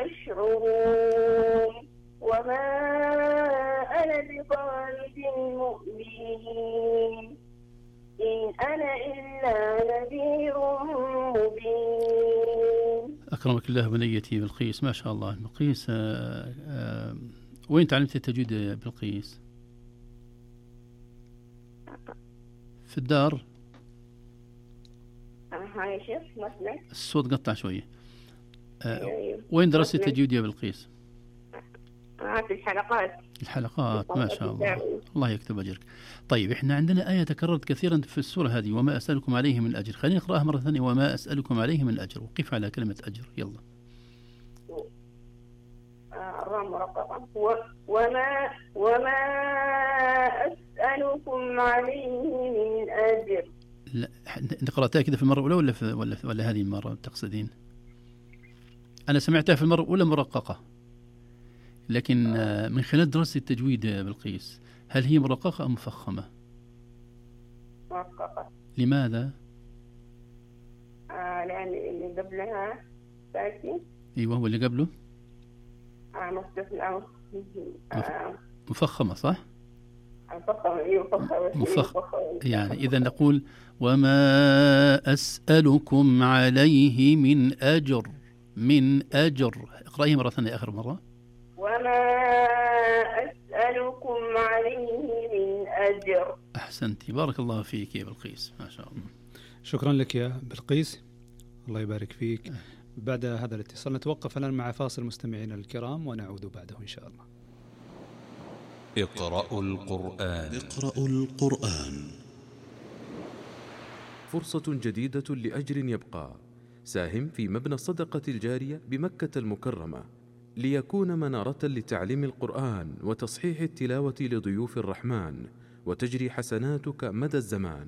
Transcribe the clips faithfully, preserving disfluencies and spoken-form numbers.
يشعرون وما أنا بطارد المؤمنين إن أنا إلا نذير مبين. أكرمك الله بنيتي بلقيس، ما شاء الله. بلقيس آآ آآ وين تعلمت التجويد يا بلقيس؟ في الدار؟ هاي شيخ مثلا الصوت قطع شوية. وين درست التجويد يا بلقيس؟ في الحلقات. الحلقات، ما شاء الله، الله يكتب أجرك. طيب إحنا عندنا آية تكررت كثيرا في السورة هذه، وما أسألكم عليه من أجر. خلينا نقرأها مرة ثانية، وما أسألكم عليه من أجر، وقف على كلمة أجر. يلا. وما وما أسألكم عليه من أجر. لا، قرأتها كذا في المرة الأولى ولا في ولا في ولا هذه المرة تقصدين؟ أنا سمعتها في المرة الأولى مرققة، لكن من خلال دراسة التجويد بلقيس، هل هي مرققة أم مفخمة؟ مرققة. لماذا؟ آه لأن اللي قبلها ساكن. أيوه، هو اللي قبله آه مستثنى. آه مفخمة، صح؟ مفخمة. أيوه مفخمة. مفخمة. يعني إذا نقول وما أسألكم عليه من أجر. من أجر. اقرأيه مرة ثانية، آخر مرة. وما أسألكم عليه من أجر. أحسنتي، بارك الله فيك يا بلقيس، ما شاء الله. شكرا لك يا بلقيس، الله يبارك فيك. بعد هذا الاتصال نتوقف الآن مع فاصل مستمعينا الكرام، ونعود بعده إن شاء الله. اقرأوا القرآن. اقرأوا القرآن. فرصة جديدة لأجر يبقى. ساهم في مبنى الصدقة الجارية بمكة المكرمة ليكون منارة لتعليم القرآن وتصحيح التلاوة لضيوف الرحمن، وتجري حسناتك مدى الزمان.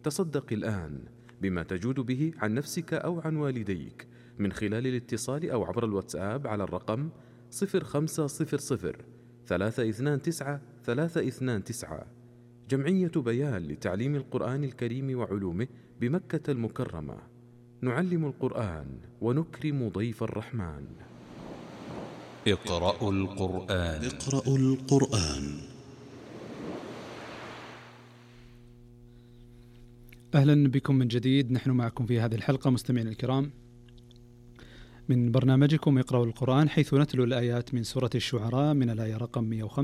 تصدق الآن بما تجود به عن نفسك أو عن والديك من خلال الاتصال أو عبر الواتساب على الرقم صفر خمسة صفر صفر ثلاثة اثنان تسعة ثلاثة اثنان تسعة. جمعية بيان لتعليم القرآن الكريم وعلومه بمكة المكرمة. نعلم القرآن ونكرم ضيف الرحمن. اقرأوا القرآن. اقرأوا القرآن. أهلا بكم من جديد، نحن معكم في هذه الحلقة مستمعين الكرام من برنامجكم اقرأوا القرآن، حيث نتلو الآيات من سورة الشعراء من الآية رقم مئة وخمسة